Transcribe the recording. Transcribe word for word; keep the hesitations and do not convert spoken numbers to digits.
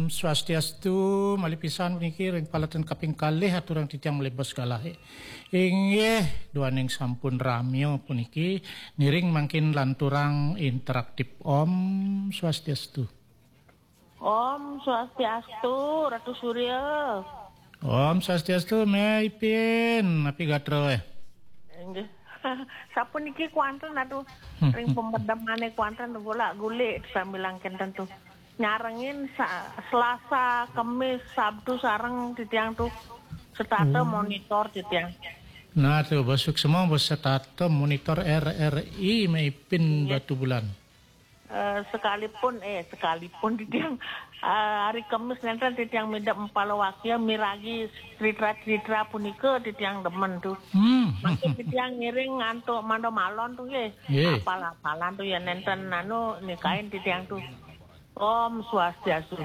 Swastiastu, malih pisan puniki ring paletan kaping kalih aturang titiang malih bos galahe. Inggih, duaning sampun ramya puniki, ngiring mangkin lanturang interaktif. Om Swastiastu. Om Swastiastu, Ratu Surya. Om Swastiastu, Meh Ipin, napi gatra eh? Inggih. Sapuniki kuanten, aduh, ring pemedemane kuanten golak-gulik sambilang kenten tuh. Nyarengin sa-, Selasa, Kemis, Sabtu sareng titiang tuh setata monitor titiang. Nah, tuh, bos suksma, bos setata monitor R R I, Meh Ipin Batubulan. Eh, sekalipun, eh, sekalipun titiang, eh, hari Kemis nenten titiang midep Empala Wakia miragi cerita-cerita punika titiang demen tuh. Hmm. Mangkin titiang ngiring antuk manda malon tuh, nggih. Nggih. Apal-apalan tuh ya nenten anu nikain titiang tuh. Om Swastiastu.